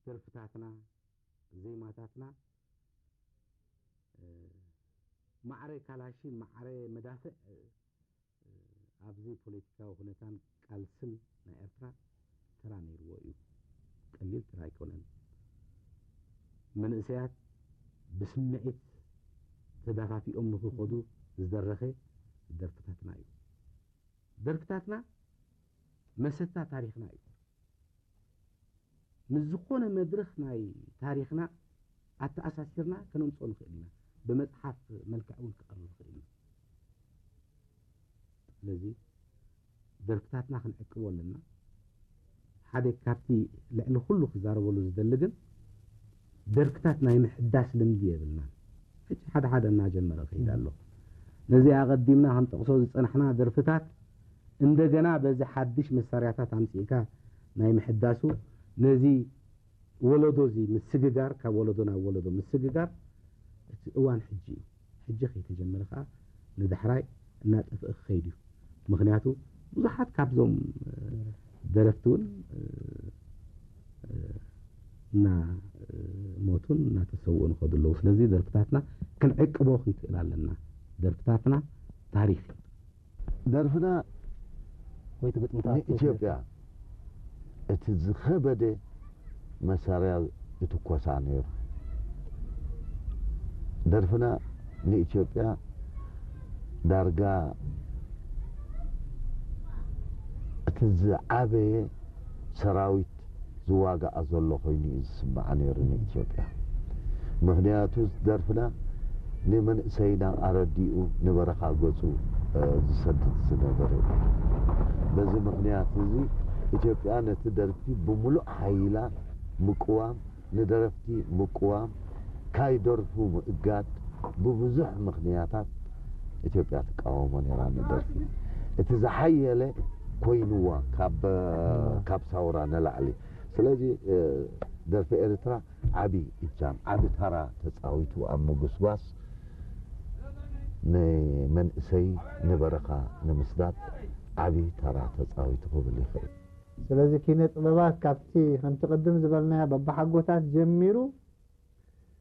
ደርፍታትና፣ ዜማታትና፣ እ፣ ማዕረ ካላሽን ማዕረ መዳፍዕ፣ እ፣ ኣብዚ ፖለቲካዊ ኩነታን ቃልስን ናይ ኤርትራ ተራ ነይርዎ እዩ። ቀሊል ተራ ኣይኮነን። መንእሰያት ብስምዒት ተዳፋፊኦም ንኽኸዱ ዝደረኸ ደርፍታትና እዩ። ደርፍታትና መሰታ ታሪኽና እዩ። ምስ ዝኾነ መድረኽ ናይ ታሪኽና ኣተኣሳሲርና ከነምፅኦ ንኽእል ኢና። ብመፅሓፍ መልክዕ እውን ክቐርብ ይኽእል እዩ። ስለዚ ደርፍታትና ክንዕቅቦ ኣለና። ሓደ ካብቲ ልዕሊ ኩሉ ክዛረበሉ ዝደሊ ግን ደርፍታት ናይ ምሕዳስ ልምዲ የብልናን። ሕጂ ሓደ ሓደ እናጀመረ ከይድ ኣሎ። ነዚ ኣቐዲምና ክንጠቕሶ ዝጸናሕና ደርፍታት እንደገና በዚ ሓድሽ መሳርያታት ኣምጺእካ ናይ ምሕዳሱ፣ ነዚ ወለዶ እዚ ምስግጋር፣ ካብ ወለዶ ናብ ወለዶ ምስግጋር እቲ እዋን ሕጂ እዩ። ሕጂ ከይተጀመረ ከኣ ንዳሕራይ እናጠፍአ ክኸይድ እዩ። ምኽንያቱ ብዙሓት ካብዞም፣ እ፣ ደረፍቲ እውን፣ እ፣ እ፣ እና፣ እ፣ ሞቱን እናተሰውኡን ይኸዱ ኣለዉ። ስለዚ ደርፍታትና ክንዕቅቦ ክንክእል ኣለና። ደርፍታትና ታሪኽ እዩ። ደርፍና ወይ እቲ ግጥምታት ንኢትዮጵያ እቲ ዝኸበደ መሳርያ ይትኮሳ ነይሩ። ደርፍና ንኢትዮጵያ ዳርጋ እቲ ዝዓበየ ሰራዊት ዝዋጋኣ ዘሎ ኮይኑ እዩ ዝስምዓ ነይሩ ንኢትዮጵያ። ምኽንያቱ ደርፍና ንመንእሰይና ኣረዲኡ ንበረኻ ገጹ፣ እ፣ ዝሰድድ ዝነበረ እዩ። በዚ ምኽንያት እዚ ኢትዮጵያ ነቲ ደርፊ ብምሉእ ሓይላ ምቅዋም፣ ንደረፍቲ ምቅዋም፣ ካይደርፉ ምእጋድ፣ ብብዙሕ ምኽንያታት ኢትዮጵያ ትቃወሞ ነይራ ንደርፊ። እቲ ዝሓየለ ኮይንዋ ካብ፣ ካብ ሳውራ ንላዕሊ። ስለዚ፣ እ፣ ደርፊ ኤርትራ ዓቢ እጃም፣ ዓቢ ተራ ተጻዊቱ ኣብ ምጉስጓስ ንመንእሰይ ንበረኻ ንምስዳድ ዓቢ ተራ ተጻዊቱ ክብል ይኽእል። ስለዚ ኪነ ጥበባት ካብቲ ከምቲ ቅድም ዝበልናዮ በብሓጎታት ጀሚሩ